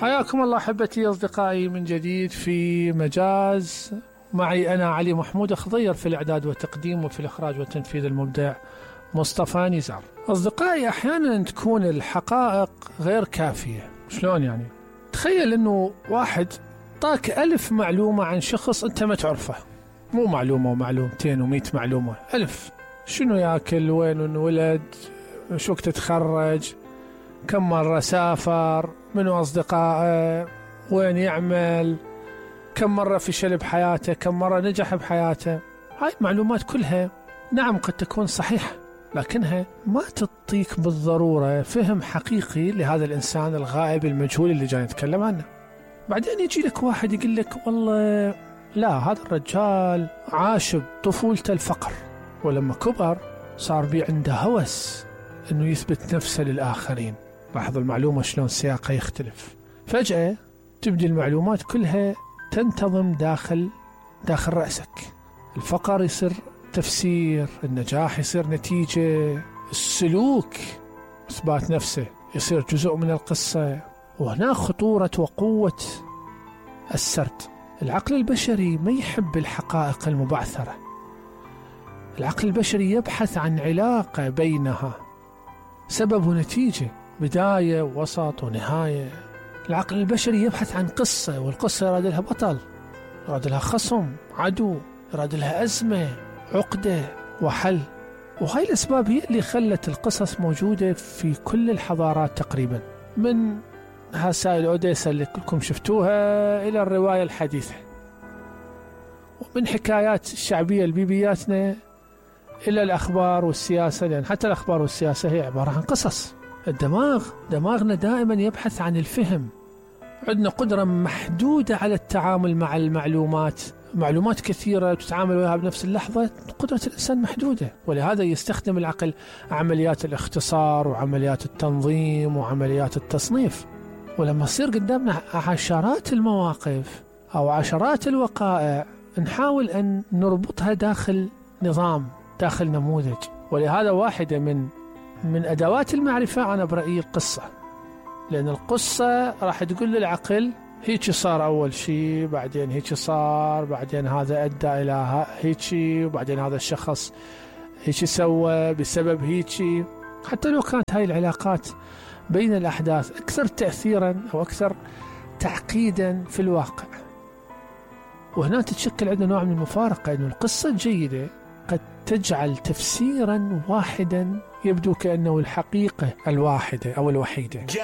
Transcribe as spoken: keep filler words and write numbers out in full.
حياكم الله أحبتي أصدقائي من جديد في مجاز. معي أنا علي محمود خضير في الإعداد والتقديم، وفي الإخراج والتنفيذ المبدع مصطفى نزار. أصدقائي، أحيانا تكون الحقائق غير كافية. شلون يعني؟ تخيل أنه واحد طاك ألف معلومة عن شخص أنت ما تعرفه، مو معلومة ومعلومتين ومئة معلومة، ألف. شنو يأكل، وين انولد، شو وقت تخرج، كم مرة سافر، منو أصدقائه، وين يعمل، كم مرة فشل بحياته، كم مرة نجح بحياته. هاي معلومات كلها نعم قد تكون صحيحة، لكنها ما تعطيك بالضرورة فهم حقيقي لهذا الإنسان الغائب المجهول اللي جاي نتكلم عنه. بعدين يجي لك واحد يقول لك والله لا، هذا الرجال عاش بطفولته الفقر، ولما كبر صار بي عنده هوس انه يثبت نفسه للآخرين. لاحظوا المعلومة شلون سياقها يختلف. فجأة تبدي المعلومات كلها تنتظم داخل داخل رأسك. الفقر يصير تفسير، النجاح يصير نتيجة، السلوك إثبات نفسه يصير جزء من القصة. وهنا خطورة وقوة السرد. العقل البشري ما يحب الحقائق المبعثرة. العقل البشري يبحث عن علاقة بينها، سبب ونتيجة، بداية ووسط ونهاية. العقل البشري يبحث عن قصة، والقصة يراد لها بطل، يراد لها خصم، عدو، يراد لها أزمة، عقدة، وحل. وهاي الأسباب هي اللي خلت القصص موجودة في كل الحضارات تقريبا، من هسائل أوديسا اللي كلكم شفتوها إلى الرواية الحديثة، ومن حكايات الشعبية البيبياتنا إلى الأخبار والسياسة، لأن حتى الأخبار والسياسة هي عبارة عن قصص. الدماغ دماغنا دائما يبحث عن الفهم. عندنا قدرة محدودة على التعامل مع المعلومات، معلومات كثيرة تتعامل وياها بنفس اللحظة، قدرة الإنسان محدودة، ولهذا يستخدم العقل عمليات الاختصار وعمليات التنظيم وعمليات التصنيف. ولما يصير قدامنا عشرات المواقف أو عشرات الوقائع، نحاول أن نربطها داخل نظام، داخل نموذج. ولهذا واحدة من من أدوات المعرفة أنا برأيي القصة، لأن القصة راح تقول للعقل هيك صار أول شيء، بعدين هيك صار، بعدين هذا أدى إلى هيك، وبعدين هذا الشخص هيك سوى بسبب هيك. حتى لو كانت هاي العلاقات بين الأحداث أكثر تأثيرا أو أكثر تعقيدا في الواقع. وهنا تتشكل عندنا نوع من المفارقة، أن القصة الجيدة قد تجعل تفسيرا واحدا يبدو كأنه الحقيقة الواحدة أو الوحيدة.